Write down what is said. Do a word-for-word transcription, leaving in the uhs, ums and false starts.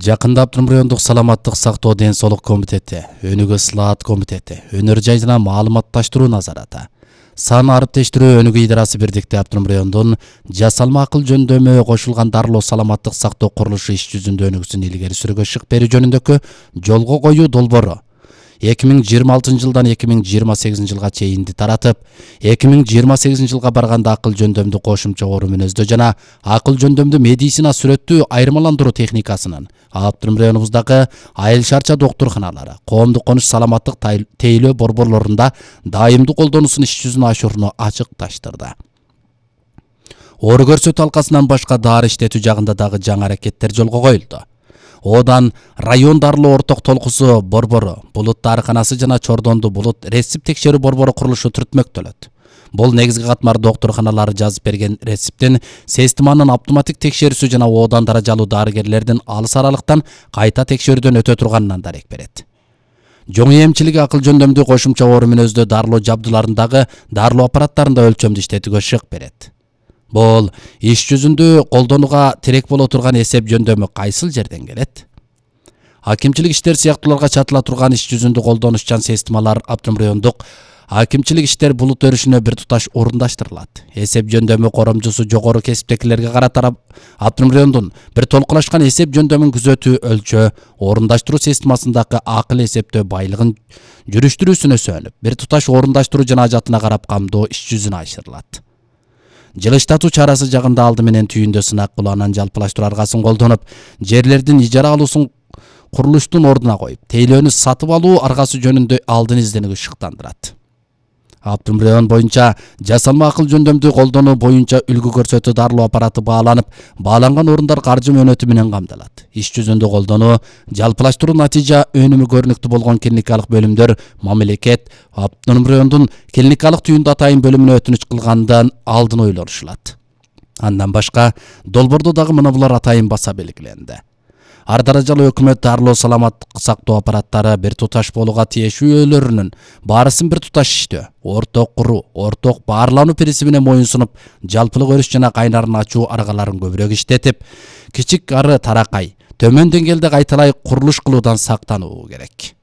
Жакында Аптырым райондук саламаттык сактоо ден соолук комитети, өнүгүү ысылаат комитети, өнөр жай жана маалыматташтыруу назараты, сан ариптештирүү өнүгүү идарасы бирдикте Аптырым райондун жасалма акыл жөндөмү кошулган дарылоо саламаттык сактоо курулушу иш жүзүндө өнүгүүсүн илгери сүрүүгө шык берүү жөнүндөгү жолго коюу долбоору эки миң жыйырма алтынчы жылдан эки миң жыйырма сегизинчи жылга чейинди таратып, эки миң жыйырма сегизинчи жылга барганда акыл жөндөмдү кошумча орун мүнөздөө жана акыл жөндөмдү медицина сүрөттүү айырмаландыруу техникасынын Аптырым районубуздагы айыл шарча доктурканалары, коомдук конуш саламаттык тейлөө борборлорунда дайымдуу колдонуусун иш жүзүнө ашырууну ачыкташтырды. Оору көрсөтүү алкасынан башка дары иштетүү жагында дагы жаңы аракеттер жолго коюлду. Одан район дарылоо орток толкусу борбору, Булут дарыканасы жана Чордонду Булут рецепт текшерүү борбору курулушу түртмөктөлөт. Бул негизги катмар доктурканалары жазып берген рецепттин системанын автоматтык текшерүүсү жана одан даражалуу дарыгерлердин алыс аралыктан кайта текшерүүдөн өтө турганынан дарек берет. Жоң эмчилиги акыл жөндөмдү кошумча орун мүнөздөө дарылоо жабдууларындагы дарылоо аппараттарында өлчөмдү иштетүүгө шык берет. Бул иш жүзүндө колдонууга тирек боло турган эсеп жөндөмү кайсыл жерден келет? Акимчилик иштер сыяктууларга чатыла турган иш жүзүндө колдонушчан системалар Аптырым райондук акимчилик иштер булут өрүшүнө бир туташ орундаштырылат. Эсеп жөндөмү коромчусу жогору кесиптекилерге карата Аптырым райондун бир толкулашкан эсеп жөндөмүн күзөтүү, өлчөө, орундаштыруу системасындагы акыл эсептөө байлыгын жүрүштүрүүсүнө сөнүп, бир туташ орундаштыруу жана ажатына карап камдоо иш жүзүнө ашырылат. Жылыштатуу чарасы жагында алды менен түйүндө сынак кылуу, анан жалпылаштыруу аргасын колдонуп, жерлердин ижара алуусун курулуштун ордуна коюп, тейлөөнү сатып алуу аргасы жөнүндө алдын изденүүгө шыктандырат. Аптырым район боюнча жасалма акыл жөндөмдү колдонуу боюнча үлгү көрсөтүү дарылоо аппараты бааланып, бааланган орундар каржы мөөнөтү менен камдалат. Иш жүзүндө колдонуу, жалпылаштыруу натыйжа өнүмү көрүнүктүү болгон клиникалык бөлүмдөр мамлекет Аптырым райондун клиникалык түйүндү атайын бөлүмүнө өтүнүч кылгандан алдын ойлонушулат. Андан башка долбоордо дагы мына булар атайын баса белгиленди. Ар даражалуу өкмөт дарылоо саламаттык сактоо аппараттары бир туташ болууга тиешүүлөрүнүн баарысын бир туташ иштөө, орток куруу, орток баарлануу принцибине моюн сунуп, жалпылык өрүш жана кайнарын ачуу аргаларын көбүрөөк иштетип, кичик ары таракай, төмөн деңгээлде кайталай курулуш кылуудан сактануу керек.